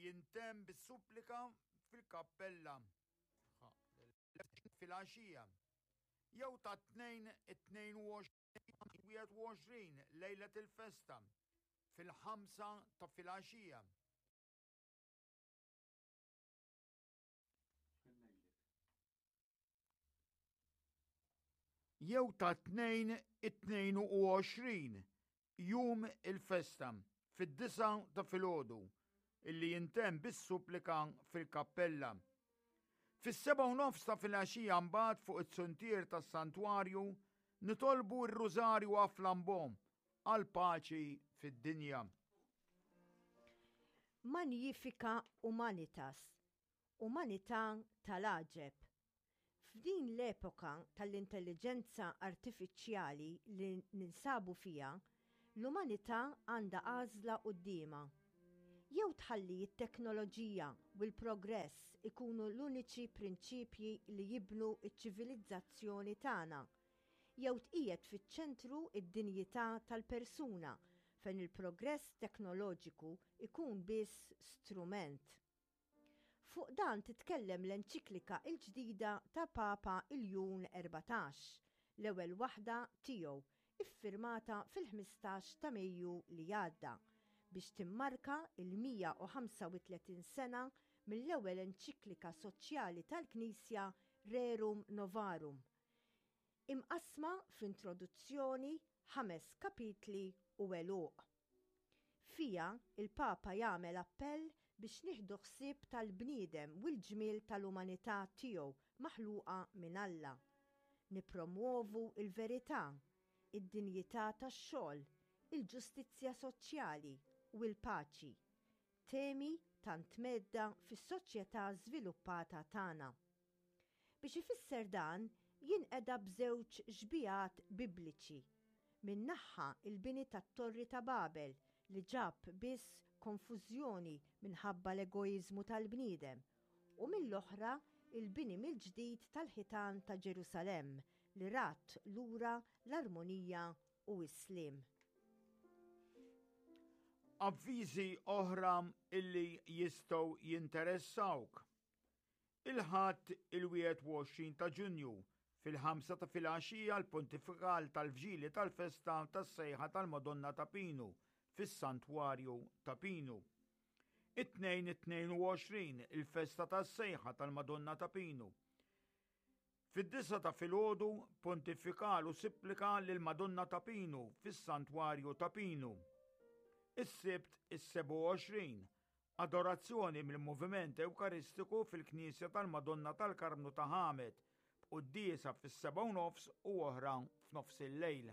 jintemm bis-supplika fil-kappella filgħaxija, jew tat-Tnejn it-22 21 lejlet il-festa fil-ħamsa ta' filgħaxija. Jew tat-Tnejn it-22, jum il-festa, fid-disgħa ta' filgħodu, illi jintemm bis-supplika fil-kappella. Fis-sebgħa u nofs ta' filgħaxija mbagħad fuq it-suntier tas-santwarju nitolbu r-Rużarju a Flambeau għall-paċi fid-dinja. Magnifica Humanitas, Umanità tal-għaġeb. F'din l-epoka tal-intelliġenza artifiċjali li ninsabu fiha, l-umanità għandha għażla quddiemha. Jew tħalli t-teknoloġija u l-progress ikunu l-uniċi prinċipji li jibnu ċ-ċivilizzazzjoni tagħna, jew tqiegħed fiċ-ċentru d-dinjità tal-persuna fejn il-progress teknoloġiku jkun biss strument. Fuq dan titkellem l-enċiklika l-ġdida ta' Papa Ljun 14, l-ewwel waħda tiegħu, iffirmata fil-15 ta' Mejju li għadda, biex timmarka l-135 sena mill-ewwel enċiklika soċjali tal-Knisja Rerum Novarum. Imqassma f'introduzzjoni, ħames kapitli u għeluq. Fiha, il-Papa jagħmel appell biex nieħdu ħsieb tal-bniedem u l-ġmiel tal-umanità tiegħu maħluqa minn Alla. Nippromwovu l-verità, id-dinjità tax-xogħol, il-ġustizzja soċjali u l-paċi, temi tant mhedda fis-soċjetà żviluppata tagħna. Biex ifisser dan, jinqeda b'żewġ xbihat Bibliċi, minn naħa l-bini tat-Torri ta' Babel li ġab biss konfużjoni minħabba l-egoiżmu tal-bniedem, u mill-oħra l-bini mill-ġdid tal-ħitan ta' Ġerusalemm li radd lura l-armonija u s-sliem. Avviżi oħra illi jistgħu jinteressawk. Il-Ħadd il-21 ta' Ġunju, fil-ħamsa ta' filgħaxija l-Pontifikal tal-Vġili tal-Festa tas-Sejħa tal-Madonna ta' Pinu fis-Santwarju ta' Pinu. It-Tnejn it-22 il-Festa tas-Sejħa tal-Madonna ta' Pinu. Fid-disgħa ta' filgħodu Pontifikal u Supplika lill-Madonna ta' Pinu fis-Santwarju ta' Pinu. Is-Sibt is-27 Adorazzjoni mill-Moviment Ewkaristiku fil-Knisja tal-Madonna tal-Karmnu ta' Ħamed, b'quddiesa fis-sebgħa u nofs u oħra f'nofsillejl.